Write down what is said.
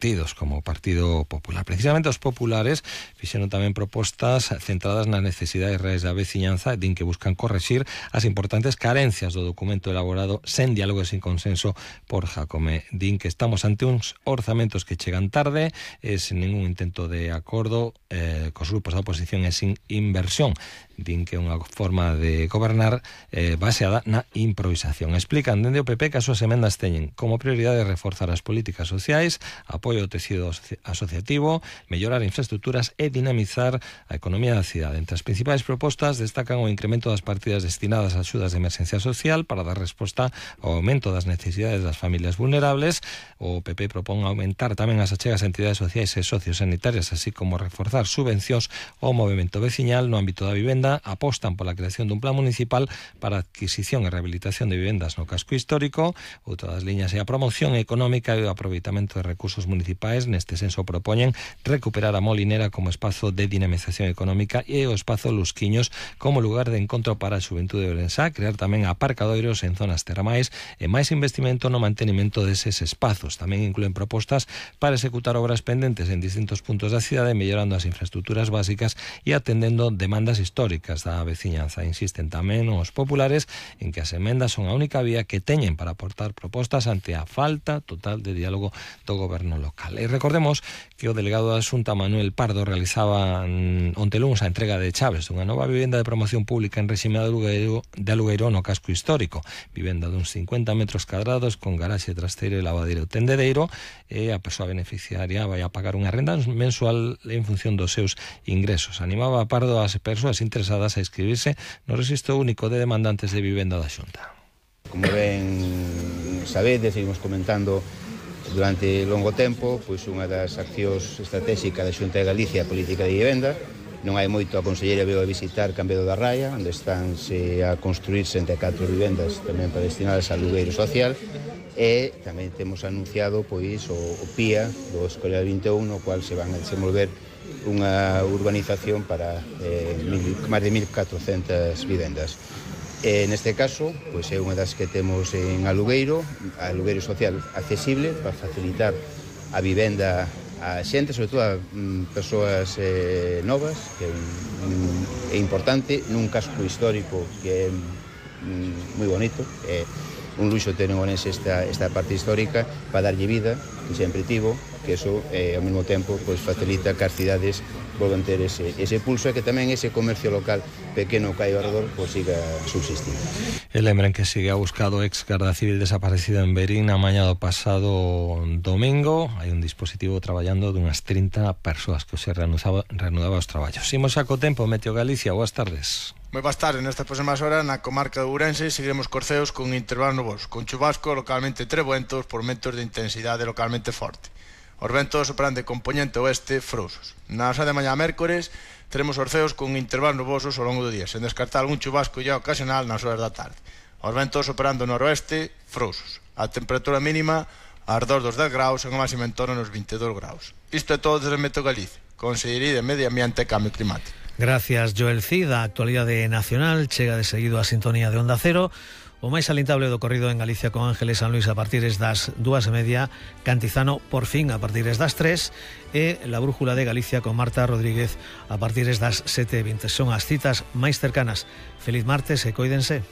partidos como o Partido Popular. Precisamente os populares fixeron tamén propostas centradas nas necesidades reais da veciñanza, din que buscan correxir as importantes carencias do documento elaborado sen diálogo e sin consenso por Jacome. Din que estamos ante uns orzamentos que chegan tarde e sen ningún intento de acordo cos grupos da oposición e sin inversión. Din que é unha forma de gobernar baseada na improvisación. Explican dende o PP que as súas emendas teñen como prioridade reforzar as políticas sociais, apoio ao tecido asociativo, mellorar infraestructuras e dinamizar a economía da cidade. Entre as principais propostas destacan o incremento das partidas destinadas a axudas de emerxencia social para dar resposta ao aumento das necesidades das familias vulnerables. O PP propón aumentar tamén as achegas a entidades sociais e sociosanitarias, así como reforzar subvencións ao movemento veciñal no ámbito da vivenda. Apostan pola creación dun plan municipal para a adquisición e rehabilitación de vivendas no casco histórico. Outra das liñas é a promoción económica e o aproveitamento de recursos municipais. Neste senso propoñen recuperar a Molinera como espazo de dinamización económica e o espazo Lusquiños como lugar de encontro para a xuventude ourensá, crear tamén aparcadoiros en zonas termais e máis investimento no mantenimento deses espazos. Tamén incluen propostas para executar obras pendentes en distintos puntos da cidade, mellorando as infraestructuras básicas e atendendo demandas históricas da veciñanza. Insisten tamén os populares en que as emendas son a única vía que teñen para aportar propostas ante a falta total de diálogo do goberno local. E recordemos que o delegado da Xunta, Manuel Pardo, realizaba onte luns a entrega de chaves dunha nova vivenda de promoción pública en réxime de alugueiro no casco histórico. Vivenda duns 50 metros cadrados con garaxe trasteiro e lavadeiro tendedeiro, e a persoa beneficiaria vai a pagar unha renda mensual en función dos seus ingresos. Animaba a Pardo as persoas interesadas a inscribirse no Rexistro Único de Demandantes de Vivenda da Xunta. Como ben sabedes, seguimos comentando durante longo tempo, pois unha das accións estratégicas da Xunta de Galicia, a política de vivenda. Non hai moito, a conselleira veio a visitar Cambedo da Raya, onde estánse a construir 64 vivendas tamén para destinadas ao alugueiro social, e tamén temos anunciado pois o PIA do Escolar 21, no cual se van a desenvolver unha urbanización para máis de 1.400 vivendas. Neste caso, pois é unha das que temos en alugueiro social accesible para facilitar a vivenda a xente, sobre todo a persoas novas, que é importante, nun casco histórico que é moi bonito. É un luxo ter en Ourense esta parte histórica para darlle vida, que sempre tivo, que eso ao mesmo tempo pois facilita que as cidades volvan ter ese pulso e que tamén ese comercio local pequeno que hai ao redor pois siga subsistindo. E lembren que sigue a buscado ex garda civil desaparecido en Verín a mañá do pasado domingo. Hai un dispositivo traballando dunhas 30 persoas que se reanudaba os traballos. Imos xa co tempo, Meteo Galicia, boas tardes. Moi boas tardes, nestas próximas horas na comarca de Ourense seguiremos corceos con intervalos nubosos, con chubascos localmente trebuentos por ventos de intensidade localmente forte. Os ventos sopran de compoñente oeste frouxos. Na hora de mañá mércores teremos orceos con intervalos nubosos ao longo do día, sen descartar algún chubasco ya ocasional nas horas da tarde. Os ventos soprando noroeste frouxos. A temperatura mínima ardor dos 10 graus e a máxima en torno nos 22 graus. Isto é todo desde Meteo Galicia, Consellería de Medio Ambiente e Cambio Climático. Gracias, Joel Cid. A actualidade nacional chega de seguido a sintonía de Onda Cero. O máis alintable do corrido en Galicia con Ángeles San Luis a partir das 2:30, Cantizano por fin a partir das 3 e la Brújula de Galicia con Marta Rodríguez a partir das 7:20. Son as citas máis cercanas. Feliz martes e coídense.